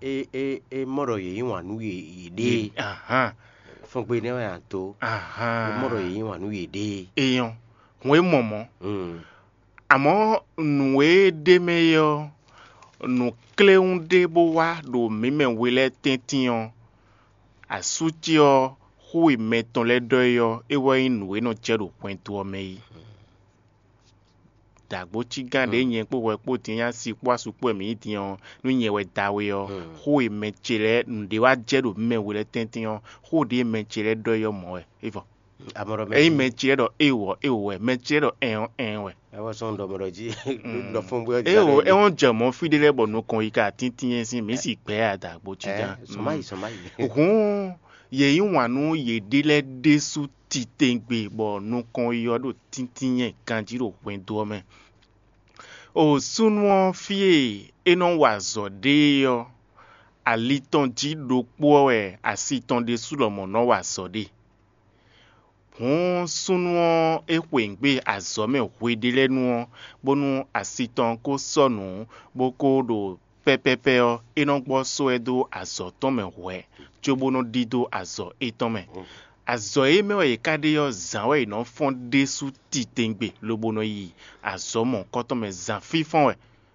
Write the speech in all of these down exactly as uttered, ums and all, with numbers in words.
é é é mɔ ɖɔ yě yí wǎn nú yě yěɖée. Ahán, Fɔ́n gbe nɛ́ wɛ a dó. Ahán. É mɔ ɖɔ yě yí wǎn nú yěɖée. Eyɔn, hǔn e mɔ mɔ̌. Hmm. Amɔ̌, nǔ e ɖ'é mɛ é ɔ́, nǔ kléwún ɖé bó wá ɖo mǐ mɛ we lɛ́ɛ tɛ́ntin ɔ́, asú ce ɔ́, xó e mɛ tɔn lɛ́ɛ ɖɔ é ɔ́, é wɛ nyí nǔ e nɔ jɛ ɖo hwɛndo ɔ́ mɛ é. Dǎgbócígán ɖě nyɛ kpó hwɛ kpó din nyí asi kpó asu kpó wɛ mǐ nyí din ɔ́, nú nyɛ wɛ da we ɔ́, xó e mɛ ce lɛ́ɛ nǔɖé wá jɛ ɖo mɛ we lɛ́ɛ tɛ́ntin ɔ́, xó ɖě mɛ ce lɛ́ɛ ɖɔ é ɔ́ mɔ̌ wɛ. É vɔ. Amɔ̌ ɖɔ mɛ Ényí mɛ ce lɛ́ɛ ɖɔ éwǒ ɔ́, éwǒ wɛ; mɛ ce lɛ́ɛ ɖɔ ɛn ɔ́, ɛn wɛ. Ɛwɔ sɔn ɖɔ mɛ ɖɔ jí ɖɔ fún bó É o, é wɔn jɛ mɔ̌ fí ɖé lɛ́ɛ bɔ nukɔn yi ka tíntín é sín mǐ si gbɛ̌ a dǎgbócígán. Sɔn má yi sɔn má yi. Hǔn yě yí wǎn nú yěɖée lɛ́ɛ ɖésú titewungbe bɔ nukɔn yi ɔ́ ɖo tíntín nyɛ ganjí ɖo hwɛndo ɔ́ mɛ. O súnnu ɔ́, fí e é nɔ wa azɔ̌ ɖe é ɔ́, ali tɔn jí ɖokpó ɔ́ wɛ asi tɔn ɖésú lɔmɔ̌ nɔ wa azɔ̌ ɖe. Hǔn súnnu ɔ́, é xweyǐgbe azɔ̌ mɛ hweɖélɛ́nu ɔ́, bónú asi tɔn ko sɔ́ nǔ, bó ko ɖo pɛ́pɛ́pɛ́ ɔ́, é nɔ gbɔ sɔ́ ɛ dó azɔ̌ tɔn mɛ hwɛ̌, cóbó nɔ ɖidó azɔ̌ étɔn mɛ. Azɔ̌ e mɛ wɛ yě ká ɖe ɔ́, zǎn wɛ yě nɔ fɔ́n ɖésú titewungbe, lobo nɔ yi azɔ̌ mɔ̌hunkɔtɔn mɛ zǎn fínfɔ́n wɛ.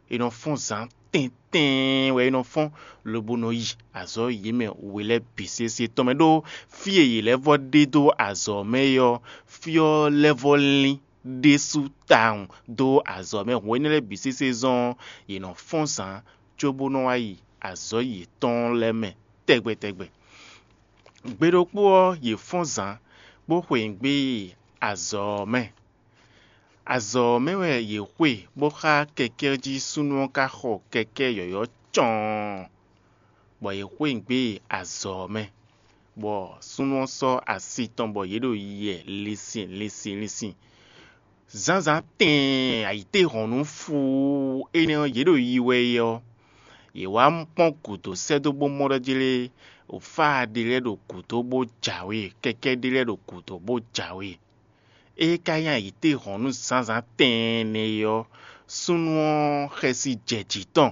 È nɔ fɔ́n zǎn tɛ́ntɛ́n wɛ é nɔ fɔ́n, lobo nɔ yi azɔ̌ yě mɛ we lɛ́ɛ bǐ sésé tɔn mɛ ɖó fí e yě lɛ́ vɔ́ ɖe dó azɔ̌ mɛ é ɔ́, fí ɔ́ lɛ́ vɔ́ lín ɖésú tawun dó azɔ̌ mɛ. Hǔn énɛ́ lɛ́ɛ bǐ sésé zɔ́n ɔ́, yě nɔ fɔ́n zǎn cóbó nɔ wá yi azɔ̌ yětɔn lɛ́ɛ mɛ tɛgbɛ tɛgbɛ. Gbe ɖokpó ɔ́, yě fɔ́n zǎn, bó xweyǐgbe yi azɔ̌ ɔ́ mɛ. Azɔ̌ ɔ́ mɛ wɛ yě xwe, bó xá kɛkɛ́ ɔ́ jí súnnu ɔ́ ka xɔ kɛkɛ́ yɔ̌yɔ́ cɔɔn, bɔ yě xweyǐgbe yi azɔ̌ ɔ́ mɛ, bɔ súnnu ɔ́ sɔ́ asi tɔn bɔ yě ɖo yiyɛ linsin linsin linsin. Zǎnzǎn tɛɛn ayǐtéhɔ̌nnu fuu énɛ́ ɔ́, yě ɖo yi wɛ é ɔ́, yě wá kpɔ́n gǔdo sɛ́ dó bó mɔ ɖɔ jlé fáa ɖé lɛ́ɛ ɖo gǔdo bó jǎwe, kɛkɛ́ ɖé lɛ́ɛ ɖo gǔdo bó jǎwe. Ée ka nyí ayǐtéhɔ̌nnu zǎnzǎn tɛɛn nɛ́ é ɔ́, súnnu ɔ́ xɛsi jɛ jǐ tɔn,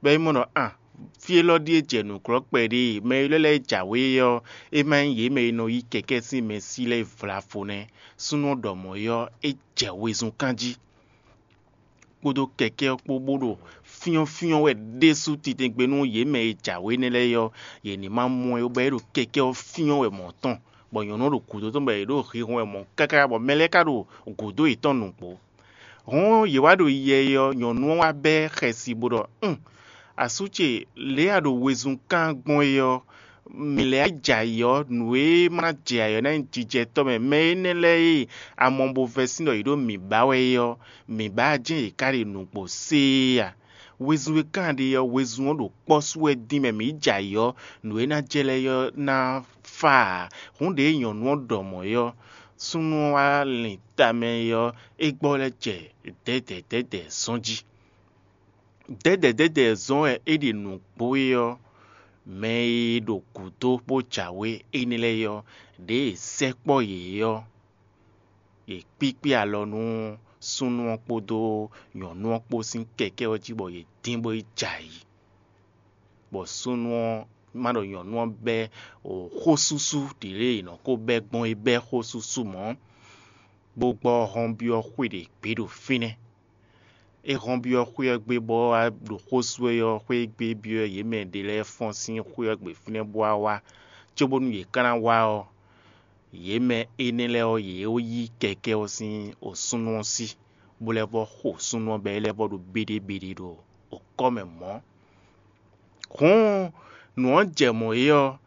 bɔ é mɔ ɖɔ an fí élɔ́ ɖíe jɛ nǔglɔ́ kpɛɖé e mɛ élɔ́ lɛ́ɛ jǎwe é ɔ́, é má nyí yě mɛ e nɔ yí kɛkɛ́ sín mɛsí lɛ́ɛ vlavo nɛ́. Súnnu ɔ́ ɖɔ mɔ̌ é ɔ́, é jɛ wezun kán jí, kpódó kɛkɛ́ ɔ́ kpó bó ɖo fyɔ́nfyɔ́n wɛ ɖésú titewungbe nú yě mɛ e jǎwe énɛ́ lɛ́ɛ é ɔ́, yě ní ma mɔ ɛ ó, bɔ é ɖo kɛkɛ́ ɔ́ fyɔ́n wɛ mɔ̌ tɔn, bɔ nyɔ̌nu ɔ́ ɖo gǔdo tɔn bɔ yě ɖo hihɔn wɛ mɔ̌ káká, bɔ mɛ lɛ́ɛ ka ɖo gǔdo yětɔn nǔgbó. Hɔn yě wá ɖo yɛ é ɔ́, nyɔ̌nu ɔ́ wá bɛ́ xɛsi bó ɖɔ: Un, asú ce, lě e a ɖo wezun kán gbɔn é ɔ́, mǐ lɛ́ɛ jɛ ayǐ ɔ́, nǔ e ma ná jɛ ayǐ ɔ́ ná nyí jijɛtɔ́ mɛ. Mɛ énɛ́ lɛ́ɛ e a mɔ bo vɛ́ sín ɖɔ yě ɖo mǐ ba wɛ é ɔ́, mǐ ba jɛ́n yě ká ɖe nǔgbó séé a? Wezun e kán ɖe ɔ́, wezun ɔ́ ɖo kpɔ́ sú wɛ dín mɛ mǐ jɛ ayǐ ɔ́, nǔ e ná jɛ lɛ́ɛ ɔ́ ná fá ǎ. Hǔn ɖě nyɔ̌nu ɔ́ ɖɔ mɔ̌ é ɔ́, súnnu ɔ́ wá lin tamɛ é ɔ́, é gbɔ lɛ́ jɛ dɛ̌dɛ̌dɛ̌dɛ̌ zɔ́n jí. Dɛ̌dɛ̌dɛ̌dɛ̌ zɔ́n wɛ é ɖi nǔgbó é ɔ́, mɛ e ɖo gǔdo bó jǎwe énɛ́ lɛ́ɛ é ɔ́, ɖěe sɛkpɔ́ yě é ɔ́, yě kpíkpí alɔ nú súnnu ɔ́ kpódó nyɔ̌nu ɔ́ kpó sín kɛkɛ́ ɔ́ jí bɔ yě dín bó yi jɛ ayǐ. Bɔ súnnu ɔ́ má ɖɔ nyɔ̌nu ɔ́ bɛ́ xósúsú ɖě lě è nɔ ko bɛ́ gbɔn é bɛ́ xósúsú mɔ̌, bó gbɔ hɔnbyɔ́ xwé ɖě gbé ɖo fínɛ́. É hɔnbyɔ́ xwé ɔ́ gbé bɔ wá ɖo xó sú ɛ ɔ́, xwé e gbé byɔ́ yě mɛ ɖě lɛ́ɛ fɔ́n sín xwé ɔ́ gbe fínɛ́ bó wá wá, cóbónú yě ka ná wá ɔ́, yě mɛ énɛ́ lɛ́ɛ ɔ́, yě yí kɛkɛ́ ɔ́ sín osúnnú ɔ́ sí, bó lɛ́ vɔ́ xo súnnu ɔ́ bɔ é lɛ́ vɔ́ ɖo béɖébeɖé ɖo okɔ́ mɛ mɔ̌. Hǔn nǔ ɔ́ jɛ mɔ̌ é ɔ́,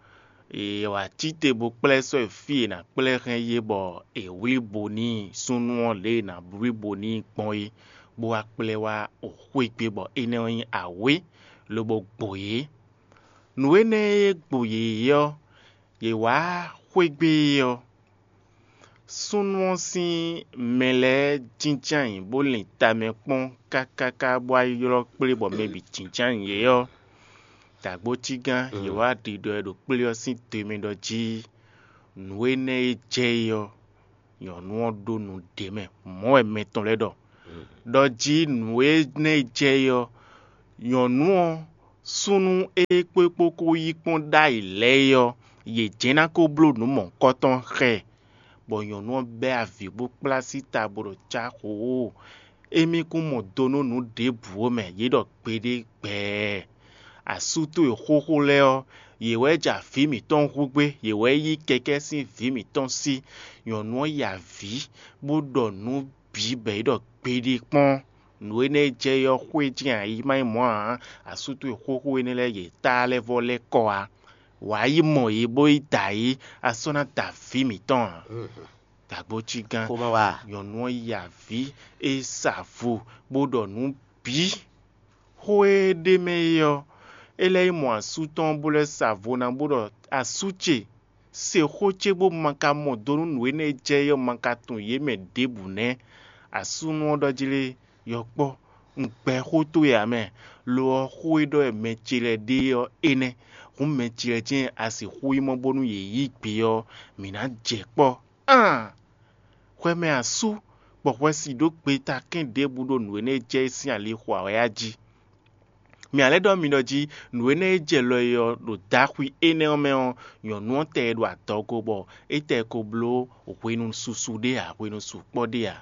è wǎ cí te bó kplá ɛ sɔ́ yi fí e è nǎ kplá ɛ hɛn é bɔ è wlí bo n'i súnnu ɔ́ lě e è nǎ wlí bo n'i gbɔn é, bó wá kplá ɛ wá xwé gbe bɔ énɛ́ ɔ́ nyí awě, lobo gbo yě. Nǔ énɛ́ e gbo yě é ɔ́, yě wá xwé gbe é ɔ́, súnnu ɔ́ sín mɛ lɛ́ɛ jínjɔ́n ayǐ bó lin tamɛ kpɔ́n kákáká bó wá ylɔ́ kplé bɔ mɛ bǐ jínjɔ́n ayǐ é ɔ́, dǎgbócígán yě wá ɖiɖɔ ɛ ɖo kplé ɔ́ sín do e mɛ ɖɔ jí nǔ énɛ́ e jɛ é ɔ́, nyɔ̌nu ɔ́ ɖó nǔ ɖě mɛ. Mɔ̌ wɛ mɛ tɔn lɛ́ɛ ɖɔ. Ɖɔ jí nǔ énɛ́ e jɛ é ɔ́, nyɔ̌nu ɔ́ Súnnu e kpó kpó kó yí kpɔ́n ɖ'ayǐ lɛ́ɛ é ɔ́, yě jɛ́n ná ko bló nǔ mɔ̌hunkɔtɔn xá ɛ, bɔ nyɔ̌nu ɔ́ bɛ́ avǐ bó kplá síta bó ɖo cá xoo. Émí kún mɔ do nú nǔ ɖěbǔ ó mɛ, yě ɖɔ gbeɖé gbɛɛ. Asú towe xóxó lɛ́ɛ ɔ́, yě wɛ jɛ avǐ mǐtɔn hu gbé; yě wɛ yí kɛkɛ́ sín vǐ mǐtɔn sí. Nyɔ̌nu ɔ́ yi avǐ, bó ɖɔ nǔ bǐ bɔ é ɖɔ gbeɖé kpɔ́n. Nǔ énɛ́ e jɛ é ɔ́, xwé jɛ́n ǎ, yi má nyí mɔ̌ ǎ. Asú towe xóxó énɛ́ lɛ́ɛ yě tá lɛ́ vɔ́ lɛ́ kɔ wá. Wǎ yi mɔ yě bó yi da yě, a sɔ́ ná da vǐ mǐtɔn ǎ. Dǎgbócí gán. Xó ma wá. Nyɔ̌nu ɔ́ yi avǐ, é sa vo, bó ɖɔ nǔ bǐ. Xó e ɖ'é mɛ é ɔ́, é lɛ́ yi mɔ asú tɔn bó lɛ́ sa vo ná bó ɖɔ: Asú ce, se xó ce bó ma ka mɔ do nú nǔ énɛ́ e jɛ é ɔ́ ma ka tunwun yě mɛ ɖěbǔ nɛ́. Asúnɔ ɔ́ ɖɔ jí lé: Yɔkpɔ́, un gbɛ́ xó towe ǎ mɛ; lo ɔ́, xó e ɖɔ wɛ mɛ ce lɛ́ɛ ɖe ɔ́ é nɛ́. Hǔn mɛ ce lɛ́ɛ jɛ́n a sixú yi mɔ bónú yě yí gbe ɔ́, mǐ ná jɛ kpɔ́. Aan! Hwɛ mɛ asú, bɔ hwɛ si ɖó gbeta kɛ́n ɖěbǔ ɖo nǔ énɛ́ e jɛ é sín ali xo ǎ wɛ á jí. Mǐ ǎ lɛ́ ɖɔ mi ɖɔ jí nǔ énɛ́ e jɛ lɔ é ɔ́ ɖo daxwi énɛ́ ɔ́ mɛ ɔ́, nyɔ̌nu ɔ́ tɛ e ɖo adɔgo bɔ é tɛ ko bló hwenu susu ɖé ǎ, hwenu sukpɔ́ ɖé ǎ.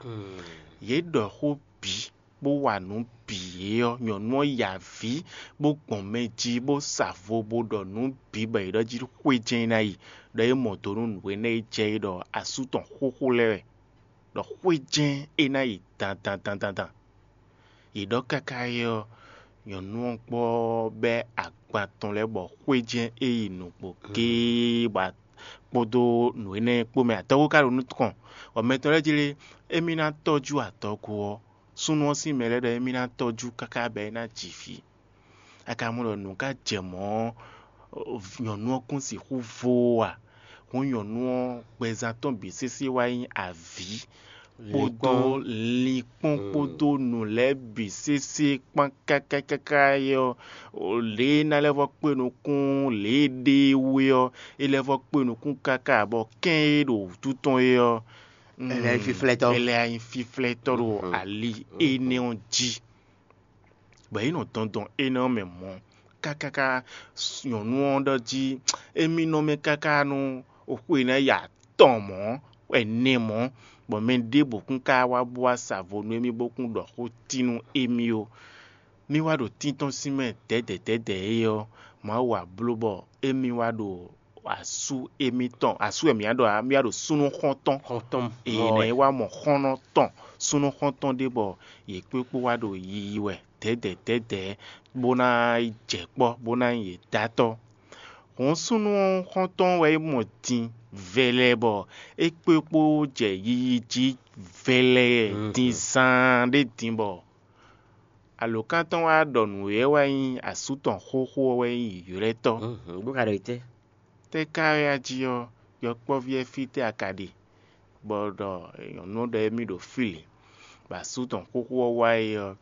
Yě ɖɔ xó bǐ, bó wa nǔ bǐ é ɔ́, nyɔ̌nu ɔ́ ya avǐ, bó gbɔn mɛ jí, bó sa vo, bó ɖɔ nǔ bǐ bɔ yě ɖɔ jí xwé jɛ́n é ná yi, ɖɔ é mɔ do nú nǔ énɛ́ e jɛ é ɖɔ asú tɔn xóxó lɛ́ɛ wɛ, ɖɔ xwé jɛ́n é ná yi dandan dandan dan. Yě ɖɔ káká é ɔ́, nyɔ̌nu ɔ́ gbɔ bɛ́ agban tɔn lɛ́ɛ bɔ xwé jɛ́n é yi nǔgbó géé bɔ kpódó nǔ énɛ́ kpó mɛ. Adɔgo ka ɖo nukɔn, bɔ mɛ tɔn lɛ́ɛ jlé émí ná tɔ́jú adɔgo ɔ́. Súnnu ɔ́ sín mɛ lɛ́ɛ ɖɔ émí ná tɔ́jú káká bɔ é ná ji vǐ. A ka mɔ ɖɔ nǔ ka jɛ mɔ̌ ɔ́, nyɔ̌nu ɔ́ kún sixú vo ó a? Hǔn nyɔ̌nu ɔ́ gbɛzán tɔn bǐ sésé wá nyí avǐ kpódó linkpɔ́n kpódó nǔ lɛ́ɛ bǐ sésé kpán káká káká é ɔ́, lě e é ná lɛ́ vɔ́ kpé nukún lě e é ɖe é wú é ɔ́, é lɛ́ vɔ́ kpé nukún káká bɔ kɛ́n e ɖo wǔtu tɔn é ɔ́, Ɛ lɛ́ nyí fíflɛ́tɔ́. Ɛ lɛ́ nyí fíflɛ́tɔ́ ɖo ali énɛ́ ɔ́ jí. Bɔ yě nɔ dɔndɔn énɛ́ ɔ́ mɛ mɔ̌, kákáká nyɔ̌nu ɔ́ ɖɔ jí émí nɔ mɛ káká nú xwe ná yi atɔn mɔ̌, ɛnɛ mɔ̌, bɔ mɛ ɖěbǔ kún ka wá bó wá sa vo nú émí bó kún ɖɔ xó tín nú émí ó. Mí wá ɖo tíntɔ́n sín mɛ dɛ̌dɛ̌ dɛ̌dɛ̌ é ɔ́, Mawu wá bló bɔ émí wá ɖo asú émítɔn, asú wɛ mǐ wá ɖo ǎ, mǐ wá ɖo súnnu xɔ́ntɔn. Xɔ́ntɔn. Ee, nɛ e wá mɔ xɔ́ntɔn súnnu xɔ́ntɔn ɖé bɔ yě kpékpó wá ɖo yiyi wɛ dɛ̌dɛ̌ dɛ̌dɛ̌, bó ná yi jɛ kpɔ́, bó ná nyí yě dátɔ́. Hǔn súnnu xɔ́ntɔn wɛ é mɔ din vɛlɛ bɔ é kpékpó jɛ yiyi jí vɛlɛ din zaan ɖé din bɔ alǒkan tɔn wá ɖɔ nǔ e wɛ nyí asú tɔn xóxó ɔ́ wɛ nyí yǒylɛ́tɔ́. Bó ka ɖɔ itɛ́? Tɛ́ ka wɛ a jí ɔ́, yɔkpɔ́ví ɛ fítɛ́ a ka ɖe? Bɔ ɖɔ nyɔ̌nu ɔ́ ɖɔ émí ɖo fí lě, bɔ asú tɔn xóxó ɔ́ wá é ɔ́,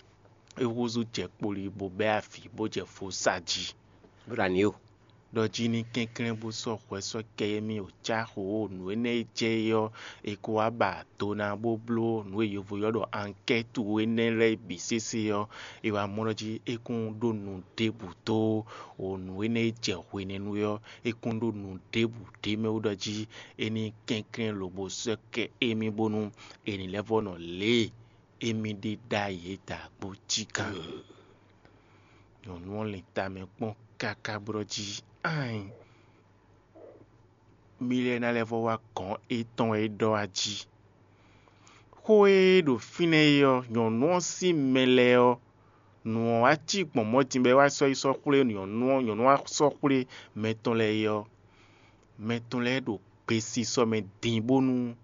é húzú jɛ kpoli bó bɛ́ avǐ bó jɛ vo sa jí. Bó ɖo ani ó. Ɖɔ jí ní kɛnklɛ́n bó sɔ́ hwɛ sɔ́ kɛ émí o cáxo nǔ énɛ́ e jɛ é ɔ́, è ko wá ba do ná bó bló nǔ e yovo ylɔ́ ɖɔ ankɛ́tu énɛ́ lɛ́ɛ bǐ sésé ɔ́, è wá mɔ ɖɔ jí é kún ɖó nu ɖěbǔ dó o nǔ énɛ́ e jɛ hwenɛ́nu é ɔ́, é kún ɖó nu ɖěbǔ ɖ'é mɛ wú ɖɔ jí é ní kɛnklɛ́n lobo sɔ́ kɛ émí bónú è ní lɛ́ vɔ́ nɔ lě e émí ɖe ɖ'ayǐ é dǎgbó cí gán. Nyɔ̌nu ɔ́ lin tamɛ kpɔ́n káká bó ɖɔ jí: Ain! Mí lɛ́ɛ ná lɛ́ vɔ́ wá gɔ̌n étɔn e é ɖɔ wá jí. Xó e ɖo fínɛ́ é ɔ́, nyɔ̌nu ɔ́ sín mɛ lɛ́ɛ ɔ́, nǔ ɔ́ wá cí gbɔn mɔ̌ din bɔ é wá sɔ́ yi sɔ́ xwlé nyɔ̌nu ɔ́, nyɔ̌nu wá sɔ́ xwlé mɛ tɔn lɛ́ɛ é ɔ́, mɛ tɔn lɛ́ɛ ɖo gbesisɔ mɛ din bónú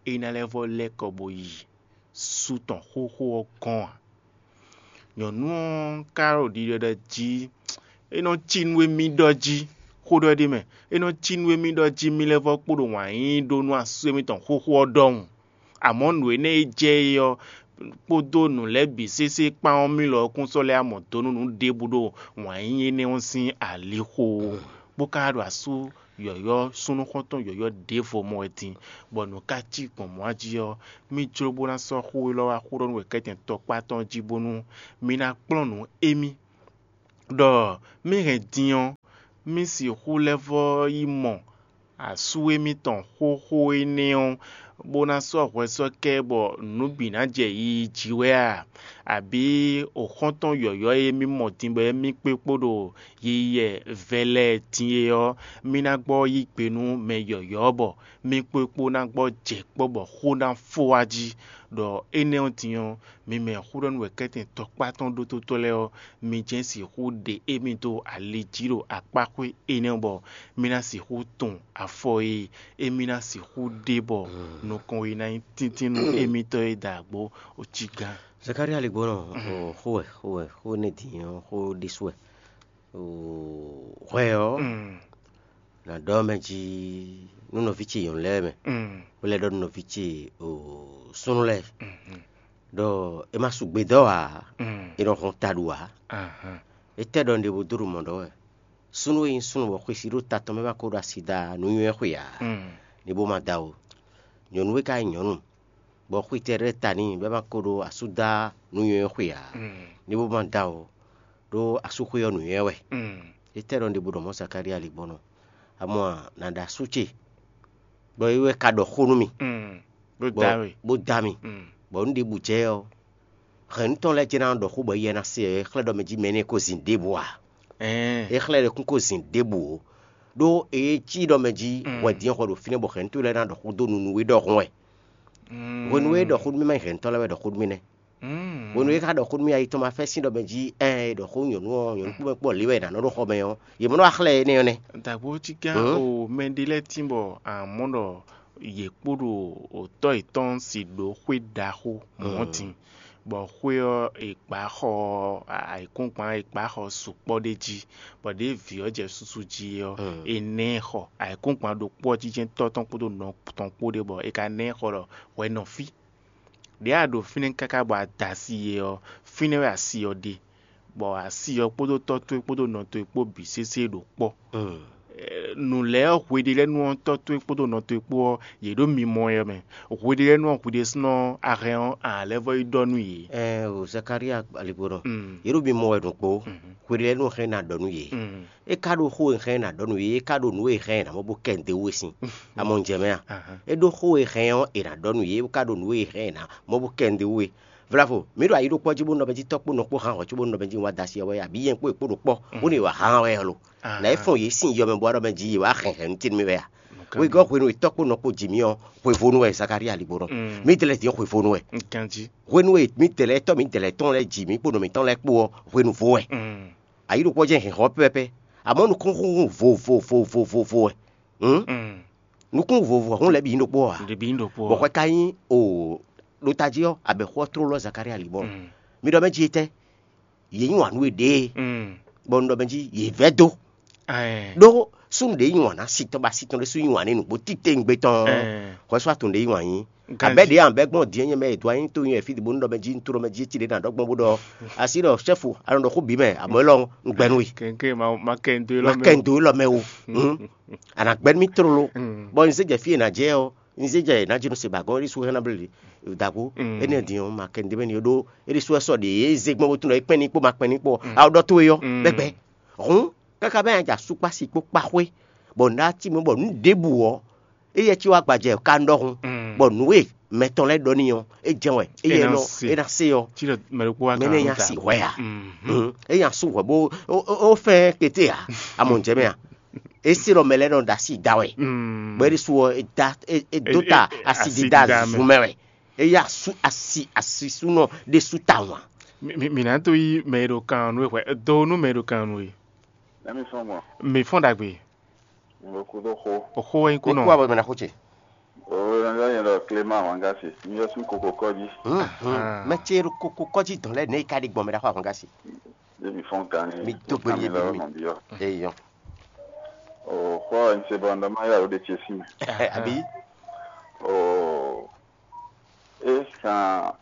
é ná lɛ́ vɔ́ lɛ́ kɔ bó yi sú tɔn xóxó ɔ́ gɔ́n ǎ. Nyɔ̌nu ɔ́ ka ɖo ɖiɖɔ ɖɔ jí: É nɔ cí nú émí ɖɔ jí, xó ɖɔ ɖ'é mɛ, é nɔ cí nú émí ɖɔ jí mí lɛ́ vɔ́ kpo ɖo wǎn yíyí ɖó nú asú émítɔn xóxó ɔ́ ɖɔhun. Amɔ̌ nǔ énɛ́ e jɛ é ɔ́ kpódó nǔ lɛ́ɛ bǐ sésé kpán ɔ́, mí lɔ ɔ́ kún sɔ́ lɛ́ amɔ do nú nǔ ɖěbǔ ɖo wǎn yíyí énɛ́ ɔ́ sín alixo ó, bó ka ɖo asú yɔ̌yɔ́ súnnu xɔ́ntɔn yɔ̌yɔ́ ɖěvo mɔ wɛ din, bɔ nǔ ka cí gbɔn mɔ̌ jí ɔ́, mí jló bó ná sɔ́ xó élɔ́ wá xó ɖɔ nú wěkɛ́tɛn tɔkpá tɔn jí bónú mí ná kplɔ́n nǔ émí. ɖɔ mì hɛn din ɔ́, mì sixú lɛ́ vɔ́ yi mɔ asú émítɔn xóxó énɛ́ ɔ́, bó ná sɔ́ hwɛ sɔ́ kɛ bɔ nǔ bǐ ná jɛ yiyi jí wɛ a? Abǐ xɔ́ntɔn yɔ̌yɔ́ e mì mɔ din bɔ émí kpé kpo ɖo yiyi vɛ lɛ́ɛ din é ɔ́, mì ná gbɔ yí gbe nú mɛ yɔ̌yɔ́ bɔ mì kpé kpo ná gbɔ jɛ kpɔ́ bɔ xó ná fó wá jí, ɖɔ énɛ́ ɔ́ din ɔ́, mi mɛ xó ɖɔ nú wɛ kɛ́tɛn tɔkpá tɔn ɖótótɔ́ lɛ́ɛ ɔ́, mi jɛ́n sixú ɖe émí dó ali jí ɖo akpáxwé énɛ́ bɔ mì ná sixú tun afɔ e émí ná sixú ɖe bɔ nukɔn e ná nyí tíntín nú émítɔn e da àgbo cí gán. Zakalía ligbɔnɔ, xó wɛ, xó wɛ, xó énɛ́ din ɔ́, xó ɖésú wɛ. Hwɛ ɔ́, nǎ ɖɔ mɛ jí nú nɔví ce nyɔ̌nu lɛ́ɛ mɛ, bó lɛ́ ɖɔ nú nɔví ce súnnu lɛ́ɛ ɖɔ è ma su gbe dɔ́ ǎ, è nɔ hɔn ta ɖu ǎ. Étɛ́ ɖɔ un ɖe bó dó ɖo mɔ̌ ɖɔ wɛ? Súnnu e nyí súnnu bɔ xwesí ɖo ta tɔn mɛ ma ko ɖo asi da nǔnywɛ́ xwe ǎ, ní bó ma da ó. Nyɔ̌nu e ka nyí nyɔ̌nu, bɔ xwetɛ́ ɖɛ́ ta n'i bɔ é ma ko ɖo asú da nǔnywɛ́ xwe ǎ, ní bó ma da ó, ɖó asúxwé ɔ́ nǔnywɛ́ wɛ. Étɛ́ ɖɔ un ɖe bó ɖɔ mɔ̌ Zakalía ligbɔnɔ? Amɔ nǎ ɖo asú ce, bɔ é wɛ ka ɖɔ xó nú mì, bó bó da mì, bó da mì, bɔ nǔ ɖěbǔ jɛ ɔ́, hɛ̌nnu tɔn lɛ́ɛ jɛ́n ná ɖɔ xó bɔ yɛ ná se ɔ́, é xlɛ́ ɖɔ mɛ jí mɛ énɛ́ ko zin ɖěbǔ ǎ. É xlɛ́ ɖɔ kún ko zin ɖěbǔ ó, ɖó é cí ɖɔ mɛ jí hwɛ din xɔ ɖo fínɛ́ bɔ hɛ̌nnu towe lɛ́ɛ ná ɖɔ xó dó nunu e ɖɔhun wɛ. Hwenu e é ɖɔ xó nú mì ma nyí hɛ̌nnutɔ́ lɛ́ɛ wɛ ɖɔ xó nú mì nɛ́. Hwenu e é ka ɖɔ xó nú mì ayi tɔn ma fɛ́ sín ɖɔ mɛ jí ɛɛ è ɖɔ xó nyɔ̌nu ɔ́, nyɔ̌nu kpɔ́ mɛ kpɔ́ lě wɛ è nǎ nɔ ɖó xɔ mɛ ɔ́, yě mɛ nɔ wá xlɛ́ énɛ́ ɔ́ nɛ́. Dǎgbó cí gán o, mɛ ɖé lɛ́ɛ tín bɔ a mɔ ɖɔ yě kpo ɖo tɔ́ yětɔn si ɖó xwé ɖaxó mɔ̌ din, bɔ xwé ɔ́ è gbǎ xɔ ayǐkúngban, è gbǎ xɔ sukpɔ́ ɖé jí, bɔ ɖěe vǐ ɔ́ jɛ súsú jí é ɔ́, è ná ɛ xɔ. Ayǐkúngban ɖokpó ɔ́ jínjɛ́n tɔ́ tɔn kpódó nɔ tɔn kpó ɖé bɔ è ka ná ɛ xɔ ɖɔ hwɛ nɔ fí. Ɖěe a ɖo fínɛ́ káká bɔ a da asi e ɔ́, fínɛ́ wɛ asi ɔ́ ɖe, bɔ asi ɔ́ kpódó tɔ́ towe kpódó nɔ towe kpó bǐ sésé ɖo kpɔ́. Nǔ lɛ́ɛ ɔ́, hweɖélɛ́ nú ɔ́, tɔ́ towe kpódó nɔ towe kpó ɔ́, yě ɖo mimɔ wɛ mɛ. Hweɖélɛ́ nú ɔ́, hwiɖésúnɔ a hɛn ɔ́, a lɛ́ vɔ́ yi ɖɔ nú yě. Ɛɛ o Zakalía aligbɔnɔ, yě ɖo mimɔ wɛ ɖokpó. Hweɖélɛ́ nú ɔ́ hɛn ná ɖɔ nú yě. É ka ɖo xó e hɛn ná ɖɔ nú yě, é ka ɖo nǔ e hɛn ná mɔ bó kɛ nǔɖé wú e sín. Amɔ un jɛ mɛ a? É ɖó xó e hɛn ɔ́, è nǎ ɖɔ nú yě, é ka ɖo nǔ e hɛn ná mɔ bó kɛ nǔɖé wú e. Vlavo, mǐ ɖo ayi ɖokpɔ́ jí bó nɔ mɛ jí tɔ́ kpó nɔ kpó hán hɔn cóbó nɔ mɛ jí wá da asi ɔ́ wɛ a, bǐ nyɛ kpó è kpó ɖo kpɔ́, bónú è wǎ hán wɛ ɔ́ lo? Nǎ é fɔ́n yě sín yɔ mɛ bó wá ɖɔ mɛ jí yě wá hɛn hɛ̌nnu tín mì wɛ a? Wegɔ́ hwenu e tɔ́ kpó nɔ kpó ji mì ɔ́, hwevónu wɛ Zakalía aligbó nɔ. Mǐdɛɛ lɛ́ɛ din ɔ́, hwevónu wɛ. Hwenu e mǐdɛɛ lɛ́ɛ tɔ́ mǐdɛɛ lɛ́ɛ tɔn lɛ́ɛ ji mǐ kpó nɔ mǐtɔn lɛ́ɛ kpó ɔ́, hwenu vo wɛ. Ayi ɖokpɔ́ jɛ́n hɛn hɔn pɛ́pɛ́pɛ́, amɔ̌ nukúnxúnxún vovovovovo wɛ. Nukún vovo hún lɛ́ɛ bǐ nyí ɖokpó ǎ. Ɖě bí nyí ɖokpó Bɔ ɔ́. Hwɛ ka nyí o ɖo tají ɔ́, abɛ̌xó ɔ́ tló lɔ́ Zakalía ali mɔ. Mi ɖɔ mɛ jí etɛ́? Yě nyi wǎn nú we ɖěe, Mm. bɔ un ɖɔ mɛ jí yě vɛ́ dó. Ɛɛ. Ɖó súnnu ɖě nyi wǎn ná si tɔn bɔ asi tɔn ɖésú nyi wǎn n'i nǔgbó titewungbe tɔn. Ɛɛ. Hwɛsó atun ɖě nyi wǎn nyi. Ganjí. Abɛ ɖě ambɛ gbɔn diɛ nyɛ mɛ e dó anyi to nyɛ fí bo nu ɖɔ mɛ jí un to ɖɔ mɛ jí ti ɖě na ɖɔ gbɔn bó ɖɔ asi ɖɔ chef a nɔ ɖɔ xó bǐ mɛ amɔ élɔ́ un gbɛ nú we. Kɛnkɛn ma ma kɛ n do ma lɔ mɛ. Kɛ n do lɔ mɛ o. Hmm. A na gbɛ mi tlolo. Mm. Bɔ n zé jɛ fí e na jɛ ɔ, n zé jɛ na jinu se ba gɔn eri su hɛn na ble dagbo. Mm. Ene din o ma kɛ n de mɛ ni o ɖo eri su ɛsɔ de e zé gbɔn bo tun ɖɔ e kpɛn ni kpo ma kpɛn ni kpo a o ɖɔ to e yɔ. Mm. Bɛgbɛ. Hun kaka bɛ yan ja sukpa si kpo kpa xwe bɔ n ɖa ti mɔ bɔ nu ɖebu ɔ eye ci wa gbajɛ ka n ɖɔhun. Mm. Bɔ nu e mɛtɔn lɛ ɖɔ ni ɔ e jɛn wɛ eye Ena nɔ se. Ena se ɔ Ci ɖɔ mɛ ɖokpó wa mɛ kan ne nu nya ta. Si hwɛ ya. Mhm. Mhm. Enya su hwɛ bo o o o fɛn kete ya amɔ n jɛ mɛ ya esi ɖɔ mɛ lɛ nɔ da si da wɛ. Mm. Bɔ eri su ɔ e da e e do E- ta e- asi asi dida da mɛ. Zun mɛ wɛ eya su asi asi sunɔ ɖe su ta wan. Mi mi- mi na to yi mɛ ɖo kan nu hwɛ do nu mɛ ɖo kan nu ye. Emi fɔn mɔ, Mi fɔn dagbe. Mo kudo xo. O xo wɛ ko Ikú no. Abɔ mɛ na xo ce. O yɔ yɛ lɔ Clément Wangasi. Mi yɔ sun koko kɔji. Hmm, hmm. Ah. Mɛ ce ɖo koko kɔji dɔn lɛ ne ka ɖi gbɔn mɛ ɖa xɔ ahɔn gasi. Emi fɔn kan ni. Mi do gbeli ye bi mi. Eyɔ. O xɔ n se bɔ ndɔ ma ya o de ce si mɛ. Abi. O e san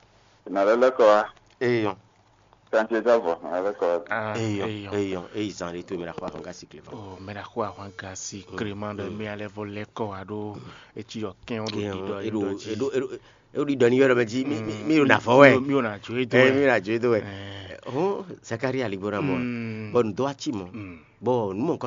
na lɛ lɛ kɔ wa. Eyɔ. Kan ce ta vɔ na lɛ kɔ wa. Ah, Eyɔ. Eyɔ. Eyɔ. Eyi zan de to mɛ ɖa xɔ ahɔn gasi kle fɔ. Oh, mɛ ɖa xɔ ahɔn gasi Clément ɖe mi alɛ vɔ lɛ kɔ wa ɖo etsi yɔ kɛn o ɖo Kɛn ɖiɖɔ o, eɖo ɖiɖɔ dzi. Eɖo eɖo é ɖi ɖɔ ní yɔ́ ɖɔ mɛ jí mí ɖo nǎ fɔ wɛ. Mi ò nà jó é dó Ɛ, ɛ. mí ɖo nǎ jó é dó wɛ. Ɛ, Hɔn Zakária lǐgbó ná mɔ. mm, Bɔ nǔ dó wá cí mɔ. mm, Bɔ nǔ mɔ̌kɔ